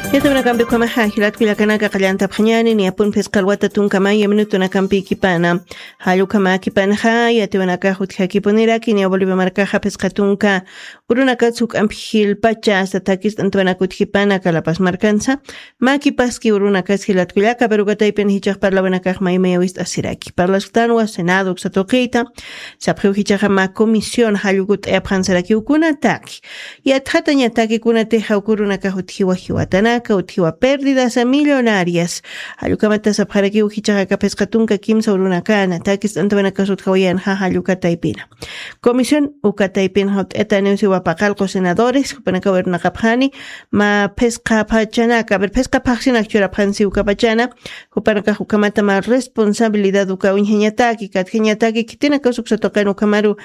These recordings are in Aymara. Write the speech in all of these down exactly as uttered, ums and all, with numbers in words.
Yatiwanakampi ukhamaxa jilat kullakanaka qallantapxañani, niyapun phisqa alwata tunka maya minutunakampikipana. Jallukhamäkipanxa yatiwanakax utjakipuniraki, niya Bolivia markaxa phisqa tunka urunakatsa juk'ampi jilpacha hasta thakist'antawanak utjipana Calapaz markansa. Mäkipaski urunakas jilat kullaka, pero uka taypin jichhax parlawanakax maymaya wist'asiraki. Parlasktanwa Senado uksa tuqita, sapxiw jichhaxa mä comisión jallukut'ayapxansarakiw kunataki. Yatxatañataki kunatixa uk urunakax utjiwa jiwatanaka, utjiwa pérdidas millonarias. Jallukhamata sapxarakiw jichhaxa aka phisqa tunka kimsa urunakana, thakist'antawanakas utjawayanxa jalluka taypina. Comisión uka taypinxa ut'ataniw siwa paqallqu senadores, jupanakaw irnaqapxani, mä phisqa phachanaka, a ver, phisqa phaxsinak churapxani siw uka pachana, jupanakax ukhamata mä responsabilidad uka uñjañataki, katjañataki, khitinakas uksa tuqin ukhamaru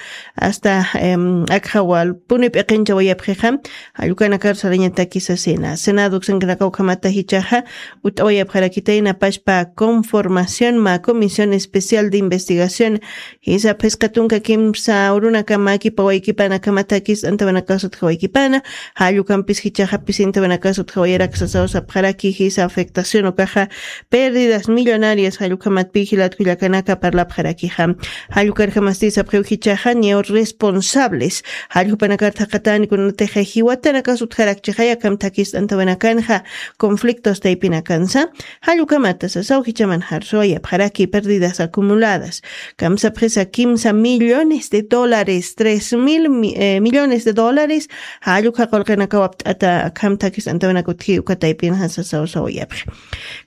hasta, em, akxawalpuni p'iqinchawayapxixa, jallukanakarus sarañataki sasina. Senado uksankanakaw ukhamata jichhaxa, ut'awayapxarakitayna pachpa conformación mä comisión especial de investigación, jisa phisqa tunka kimsa urunaka mäkipawaykipana, akhama thakist'antawanakas utjawaykipana, jallukampis jichhaxa pisintawanakas utjawayarak sasaw sapxaraki, jisa afectación ukaxa pérdidas millonarias jallukhamatpi jilat kullakanaka parlapxarakixa. Jallukarjamasti sapxiw jichhaxa niyaw responsables. Jallukhupanakar thaqhatani kunatixa jiwatanakas utjarakchixay akham thakist'antawanakanxa conflictos taypinakansa. Jallukhamata sasaw jichhamanxar suwayapxaraki pérdidas acumuladas. Kamsapxisa kimsa millones de dólares, tres mil mi-, eh, millones de dólares. Jallukha qullqinakaw apt'ata akham thakist'antawanak utji uka taypinxa sasaw suwayapxi.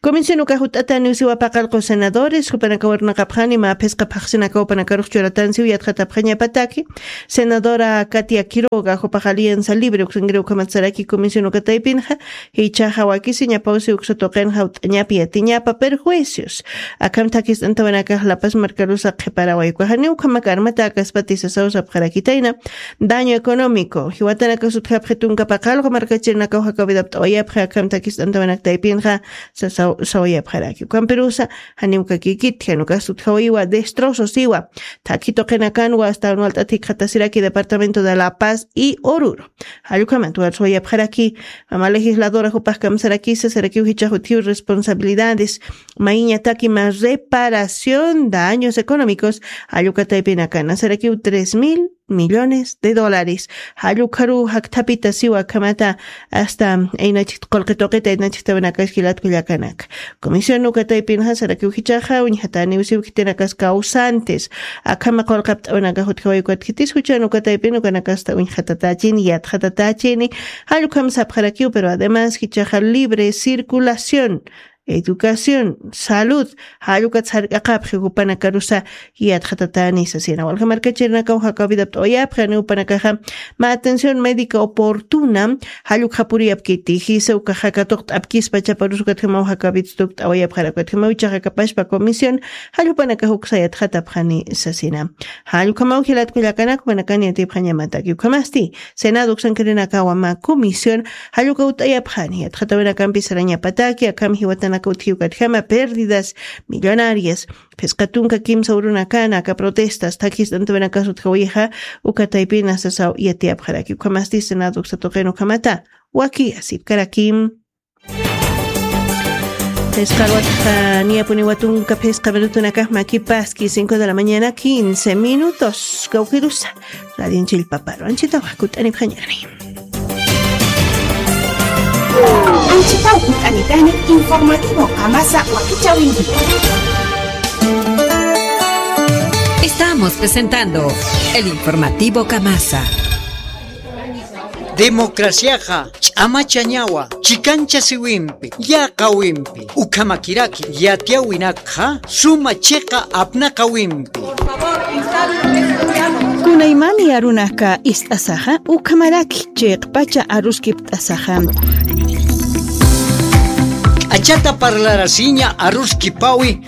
Comisión ukax ut'ataniw siwa paqallqu senadores, jupanakaw irnaqapxani mä phisqa phaxsinakaw jupanakarux churatan siw yatxatapxañapataki. Senadora Katia Quiroga, jupax Alianza Libre uksankiri ukhamat saraki comisión uka taypinxa, jichhaxa wakisiñapaw siw uksa tuqinxa ut'añapa yatiñapa perjuicios. Akham thakist'antawanakax La Paz markarusa qhiparaway ukaxa niw ukhamak armatakaspati sasaw sapxarakitayna, daño económico. Jiwatanakas utjapxi tunka paqallqu markachirinakaw jakaw vida apt'awayapxi akham thakist'antawanak taypinxa, sasaw, sawayapxaraki. Ukampirusa, janiw kakikiti, jan ukas utjawayiwa, destrozos iwa. Thakhi tuqinakanwa, hasta jan walt'at jikxatasiraki departamento de La Paz y Oruro. Jallukhamat warswayapxaraki, mama legisladora jupax kamsarakisa, sarakiw jichhax utjiw responsabilidades, mayiñataki mä reparación, daños económicos, jalluka taypinakana, sarakiw tres mil millones de dólares. Jallukharu jakthapita siwa akhamata hasta aynachik qullqi tuqita aynachiktawanakax jilat kullakanaka. Comisión uka taypinxa sarakiw jichhaxa, uñjataniw siw khitinakas causantes. Akhama qullqi apt'awanakax utjaway ukat khitis juchan uka taypin ukanakasta uñjatatächini, yatxatatächini. Jallukhamsa sapxarakiw, pero además jichhaxa libre circulación, educación, salud, jallukatsa jark'aqapxi jupanakarusa yatxatatäni sasina. Walja markachirinakaw jakaw vida apt'awayapxi, janiw jupanakaxa mä atención médica oportuna, jallukxa puriyapkiti, jisa ukaxa katuqt'apkispa chaparus ukatjamaw jakaw vida tukt'awayapxarak, ukatjamaw jichhaxa aka pachpa comisión, jallukhanakax uksa yatxatapxani sasina. Jallukhamaw jilat kullakanak, jupanakan yatipxañamataki ukhamasti, Senado uksankirinakawa mä comisión, jalluka ut'ayapxani, yatxatawinakampi sarañapataki, akham jiwatanaka utji ukatjama pérdidas millonarias, phisqa tunka kimsa urunakana aka protestas, thakist'antawinakas utjawixa, uka taypina sasaw yatiyapxaraki. Ukhamasti Senado uksa tuqin ukhamata, waki asipkarakim. Phisqa alwatxa niyapuniwa tunka phisqa minutunakax mäkipaski, cinco de la mañana, quince minutos. Kawkirusa, radion chillpaparu anchhitawa kut'anipxañani. Anchhitaw kut'anitani informativo Kamasa wakichäwinki. Estamos presentando el informativo Kamasa. Democraciaxa ch'amachañawa, chikanchasiwimpi, yaqawimpi, ukhamakiraki yatiyäwinakxa suma chiqa apnaqawimpi. Kunaymani arunaka ist'asaxa, ukhamaraki chiqpacha aruskipt'asaxa. K'achata parlarasiña aruskipawi,